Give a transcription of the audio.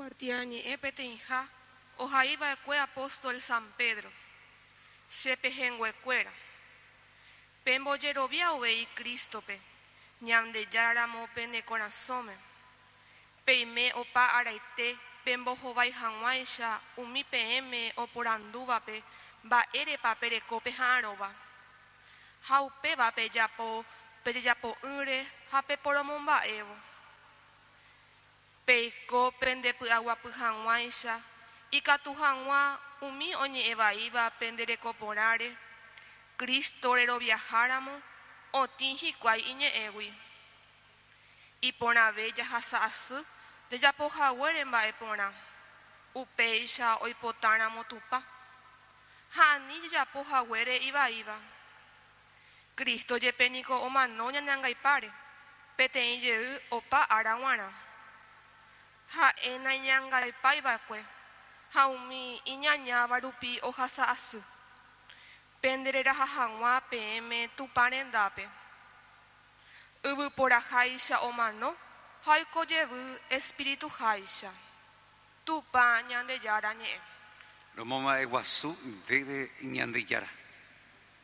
Kuatiañe'ẽ peteĩha ohaiva'ekue apóstol San Pedro, Che pehẽnguekuéra, pembojerovia uvei Crístope, Ñandejára ramo pene korasõme. Peime opa araite pembohovái hag̃uáicha umi peẽme oporandúvape mba'érepa pereko peha'arõva. Ha upéva pejapo pejejapo'ỹre ha peporomomba'évo. Peiko pendepy'aguapy hag̃uáicha, ikatu hag̃ua umi oñe'ẽ vaíva pende reko porãre, Cristo reroviaháramo, otĩ hikuái iñe'ẽgui. Iporãve jahasa asy jajapo haguére mba'e porã, upéicha oipotáramo Tupã, ha ani jajapo haguére ivaíva. Cristo jepe niko omano ñane angaipáre, peteĩ jey opa ára g̃uarã. Ha'e naiñangaipái va'ekue, ha umi iñañáva rupi ohasa asy, pende reraha hag̃ua peẽme Tupã rendápe. Yvyporaháicha omano ha oiko jevy espirituháicha. Tupã Ñandejára ñe'ẽ. Romomba'eguasu ndéve Ñandejára.